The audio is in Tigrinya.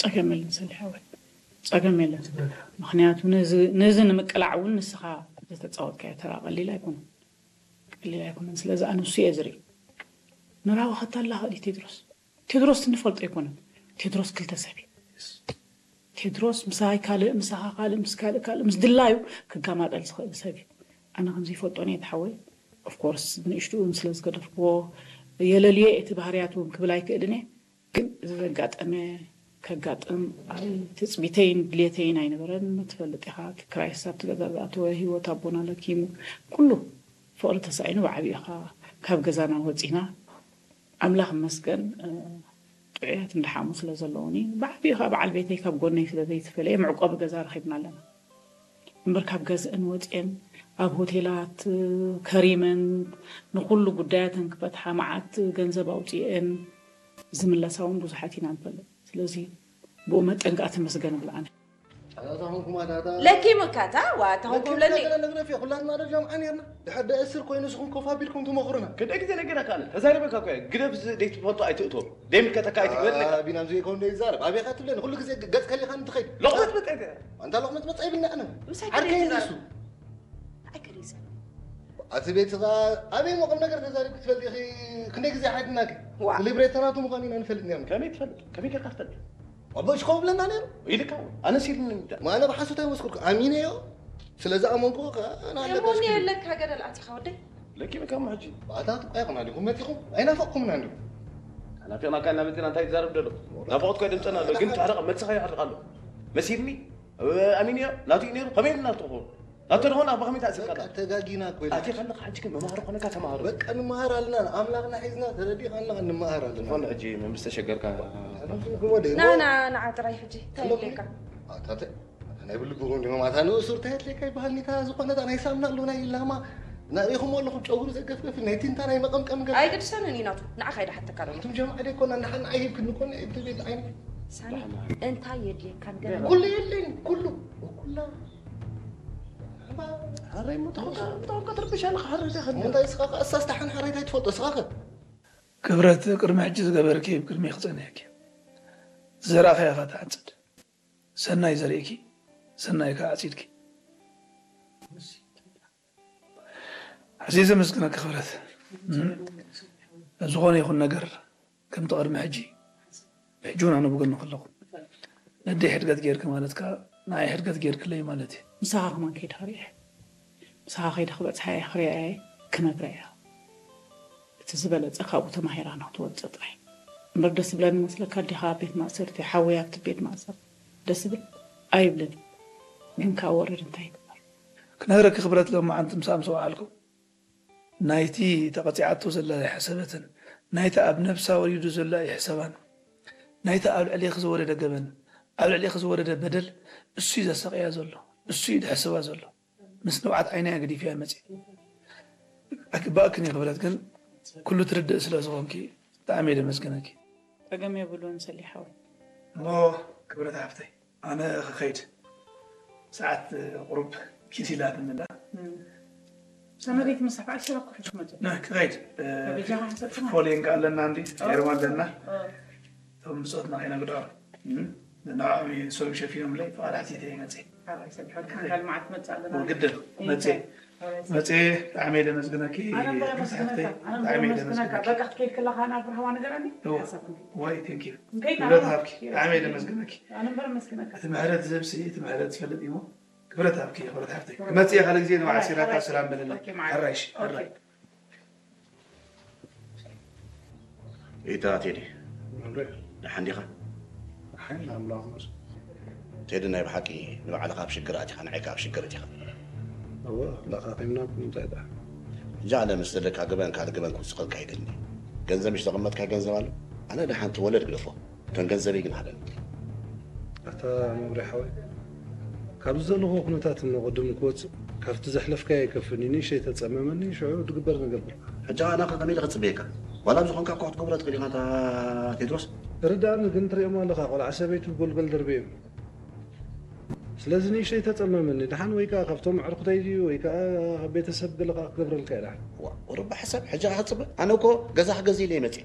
ጸገም የለን ሰሊሕ ሓወይ፣ ጸገም የለን። ምኽንያቱ ነዚ ነዚ ንምቅላዕ እውን ንስኻ ዝተጻወትካዮ ተራ ቀሊል ኣይኮነን፣ ቀሊል ኣይኮነን። ስለዚ ኣነ ንሱ እየ ዝርኢ። ንራዊ ከታላኸ ድዩ ቴድሮስ? ቴድሮስ ንፈልጦ ኣይኮነን። ቴድሮስ ክልተ ሰብ እዩ። ቴድሮስ ምሳይ ካልእ፣ ምሳኻ ካልእ፣ ምስ ካልእ ካልእ፣ ምስ ድላዩ ክጋማጠል ዝኽእል ሰብ እዩ። ኣነ ከምዚ ይፈልጦን እየ ተሓወይ። ኦፍኮርስ ብንእሽትኡ ስለ ዝገደፍክዎ የለልዮ እቲ ባህርያቱ እውን ክብል ኣይክእልን እየ። ግን እዚ ዘጋጠመ ከጋጥም ኣብ ትጽቢተይን ድሌተይን ኣይነበረን። ትፈልጥ ኢኻ፣ እቲ ክራይስ ኣብቲ ገዛ ዝኣተወ ህይወት ኣቦና ለኪሙ ኩሉ ፍቕሪ ተሳኢኑ ብዓቢኡ ኢኻ ካብ ገዛና ወጺና። ኣምላኽ ይመስገን፣ እ፣ ጥዑያት እንዳሓሙ ስለ ዘለዉኒ፣ ብዓቢኡ ኸኣ በዓል ቤተይ ካብ ጎነይ ስለ ዘይተፈለየ መዕቆቢ ገዛ ረኺብና ኣለና። እምበር ካብ ገዝአን ወጺአን ኣብ ሆቴላት ከሪመን ንኹሉ ጉዳያተን ክፈትሓ መዓት ገንዘብ ኣውጺአን ዝምለሳ እውን ብዙሓት ኢና ንፈልጥ። ስለዚ ብኡ መጠን ከኣ ተመስገን እብል ኣነ። ኣታ ኾንኩም ኣታ ኣታ ለኪ ምካታ ዋ ኣታ ኾንኩም ለኪ ለኒ ምካታ ነግረፍ እየ። ኩላትና ዶ ጃምዓ ነርና? ድሕር ደእስር ኮይኑ ንስኹም ኮፍ ኣቢልኩም ትመኽሩና። ክንደይ ግዜ ነገራካ ኣነ? ተዛሪበካ እኮ እየ። ግደፍ ዝ-፣ ዘይትፈልጦ ኣይትእቶ። ደይ ምልከተካ ኣይትግበር ኣለካ። ቢናም ዘይከውን ደይ ይዛረብ። ኣበይ ኢኻ ትብለኒ? ኩሉ ግዜ ገጽ ከሊኻ ንትኸይድ። ሎቕመት መጸ። ኣንታ ሎቕመት መጸ ይብልና ኣነ። ምሳይ ዓርከይ ከደይ እንዲሱ። ይዛረብ? ኣይ ከደይ ይዛረብ? ኣቲ ቤትኻ ኣበይ መቐም ነገር ተዛሪብ ክትፈልጥ ኢኺ? ክንደይ ግዜ ሓድናኪ? ዋ። ብሊብሬተናቱ ምዃኑ ኢና ንፈልጥ ኒያም። ከመይ ትፈልጥ? ከመይ ጌርካ ትፈልጥ? ኣቦ እሽኮ ብለና ነይሩ። ኢልካ ኣነስ ኢልኒ እንዳ። ማነ ብሓሶት ኣይመስክርኩ። ኣሚነዮ። ስለ ዝኣመንኩ ከኣ ኣነ ኣለካ እሞኒ እስኪ። የለካ ገደል ኣቲኻ ወደይ። ለኪ በቃ እሞ ሕጂ። ኣታ ትቋይ ኹና ዲኹም መጺኹም? ኣይናፈቕኩምና እንዲኹም። ናፊቕናካ እናመጺና እንታይ ትዛረብ ደሎ? ናፍቖት እኮ ድምፅና ኣሎ፣ ግን ትሕርቕ መልስኻ ይሕርቕ ኣሎ። መሲልኒ? ኣሚንዮ? ናቱ እዩ ነይሩ? ከመይ ኢልና ትኾኑ? ናቱ ደኾን ኣብ ከመይ ተኣሲርካ? በቃ ተጋጊና እኮ ኢልና። ኣቲ ከለኻ ሕጂ ግን መምሃሪ ኮነካ ተምሃሮ። በቃ ንመሃር ኣለና፣ ኣምላኽና ሒዝና ተረዲእካ ኣለኻ ንመሃር ኣለና። ዝኾነ ሕጂ መምስ ተሸገርካ። ሕጂ ወደ ና፣ ና፣ ንዓ ጥራይ ሕጂ፣ እንታይ ኣለኹም? ይብለካ? ኣታ ተ-፣ ኣታ ናይ ብልብኹም ዲኹም፣ ኣታ ንእሱር እንታይ ኣድልየካ ይበሃል፣ ኒታ ዝኾነ እታ ናይ ሳምና ኣሎ፣ ናይ ላማ፣ ናሪኹም ኣለኹም፣ ጨጉሪ ዘገፍገፍ፣ ናይ ቲንታ ናይ መቐምቀም ገ-፣ ኣይግድሰንን እዩ ናቱ፣ ንዓኻ እዩ ድሓተካ ዘሎ። ኣቱም ጀማዓ ደይኮና፣ ንሓን ኣይሂብክን ንኮን፣ እቲ ቤት ዓይኒ። ሳሚ፣ እንታይ የድልየካ ንገረኒ? ኩሉ የለኝ፣ ኩሉ፣ ኩላ። ሓራይ እሞ ተኸ-፣ ተኸ-፣ ተኸ-፣ ክትርብሽ ኣለኻ፣ ሓራይ ተኸ-፣ እንታይ እስኻ ከ፣ እሳስ ተሓን ሓራይ እንታይ ትፈልጦ እስኻ ከ? ክብረት፣ ቅድሚ ሕጂ ዝገበርኪ፣ ቅድሚ ክጸንሕኪ። ዝዘራእኻዮ ኢኻ ትዓጽድ። ሰናይ ዘሪእኪ፣ ሰናይ ከኣ ዓጺድኪ። ኣዝየ ዘመስግነኪ ክብረት። ኣብ ዝኾነ ይኹን ነገር ከምቲ ቅድሚ ሕጂ፣ ሕጂ እውን ኣነ ብጎንኺ ኣለኹ። ነደይ ሕድገት ጌርኪ ማለት ከኣ ንዓይ ሕድገት ጌርክለይ ማለት እዩ። ምሳኻ ከማን ከይደ ክርእያ፣ ምሳኻ ከይደ ክበጽሓ እየ፣ ክርእያ እየ፣ ክነግራ እየ። እቲ ዝበለጸ ካብኡ ተማሂራ ንክትወጽእ ጥራይ። እምበር ደስ ዝብለኒ መስለካ ኣዴኻ ኣብ ቤት ማእሰርቲ፣ ሓወይ ኣብቲ ቤት ማእሰርቲ ደስ ዝብል ኣይብልን። ግን ካብ ወረድ እንታይ ይግበር? ክነግረኪ ክብረት፣ ሎማዓንቲ ምሳኣ ምስ ወዓልኩ ናይቲ ተቐጺዓቶ ዘላ ኣይሓሰበትን፣ ናይቲ ኣብ ነብሳ ወሪዱ ዘሎ ኣይሕሰባን። ናይቲ ኣብ ልዕሌኺ ዝወረደ ገበን፣ ኣብ ልዕሌኺ ዝወረደ በደል እሱ እዩ ዘሳቕያ ዘሎ፣ እሱ እዩ ድሕስባ ዘሎ። ምስ ንብዓት ዓይነይ ኣገዲፈያ መጺአ። ኣይግባእክን እዩ ክብረት፣ ግን ኩሉ ትርድእ ስለ ዝኾንኪ ብጣዕሚ እየ ደመስግነኪ። ጸገም የብሉን ሰሊሕ ሓወይ። እሞ ክብረት ሓፍተይ፣ ኣነ ክኸይድ፣ ሰዓት ቁሩብ ኪስ ኢላትኒ ኣላ። እም። ሰመሪት ምሳሕ ኣሽራኩ ሕሽ መጡ። ና ክኸይድ፣ እ፣ ከበጃኻ ሕሰብትና። ፎሌን ከ ኣለና እንዲ፣ ኦ። ኤርማ ኣለና። ኦ። እቶም ብጾትና ከይነግድዖም። እም? ንዕኦም እዩ ንሶም ሸፊኖምለይ፣ ፍቓድ ሓቲተ ይመጽእ። ሓራይ ሰብ ሕርካ ካልማዓት መጽእ ኣለና። ወግድን፣ መጽእ። ሓራይ ሰብ። መጽእ፣ ብጣዕሚ እየ ደመስግነኪ፣ ኣነ እምበር መሳሕተይ፣ ኣመስግነካ፣ ኣነ እምበር ብጣዕሚ እየ ኣመስግነካ። ደመስግነኪ። በቃ ክትከይድ ከለኻ ናብ ርሃዋ ነገር ኣኒ? እወ። ሓሳብኩም። ዋይ፣ ቴንክ ዩ። ከይድ ክብረት ኣለኻ? ሃብኪ፣ ብጣዕሚ እየ ደመስግነኪ። ኣነ እምበር ኣመስግነካ። እቲ ምሕረት ዝህብሲ፣ እቲ ምሕረት ዝፈልጥ እዩ። ክብረት ሃብኪ፣ ክብረት ሃብቲ። ክብረት ክመጽእ እየ፣ ካልእ ግዜ ንባዕል ሓራይ፣ ሲራታ ሓራይ። ሰላም በለለይ። ኦኬ፣ ማዓት። ሓራይሽ፣ ኦኬ። ሓራይ። ኢታ ቴዲ፣ መምሬ። ደሓን ዲኻ? ደሓን፣ ኣምላኽ ይመስገን። ቴዲ፣ ናይ ብሓቂ ንባዕልኻ ኣብ ሽግር ኣቲኻ፣ ንዓይ ከኣ ኣብ ሽግር ኣቲኻ። እወ፣ ለኻኺምና እኮ እንታይ ደኣ? ሕጂ ኣነ ምስ ዘለካ ገበን ካልእ ገበን ክውስኸልካ ኣይደልን። ገንዘብ ምሽ ዘቐመጥካዮ ገንዘብ ኣሎ? ኣነ ደሓን እቲ ወለድ ግደፎ። ከም ገንዘበይ ግን ሃበኒ። ኣታ መምሬ ሓወይ፣ ካብዚ ዘለኹዎ ኩነታት እሞ ቅድም ክወጽእ፣ ካብቲ ዘሕለፍካዮ ኣይከፍን እዩ። ንእሽተይ ተጸመመኒ፣ ሽዑ ድግበር ንገብር። ሕጂ ኣነ ከ ከመይ ኢለ ክጽበየካ? ዋላ ኣብ ዝኾንካ እኳ ክትገብሮ ትኽእል ኢኻ፣ ኣታ ቴድሮስ። ርድኣኒ ግን ትሪኦም ኣለኻ፣ ቆልዓ ሰበይቱ ጎልጎል ደርብዮም። ስለዚ ንእሽተይ ተጸመመኒ። ደሓን ወይ ከኣ ካብቶም ኣዕሩኽተይ ድዩ ወይ ከኣ ካብ ቤተሰብ ገለ ከኣ ክገብረልካ እየ ደሓን። ዋ፣ ቁሩብ ብሓሳብ ሕጂ ከኣ ክጽበ? ኣነ እኮ ገዛ ክገዝእ ኢለ እየ መጽየ።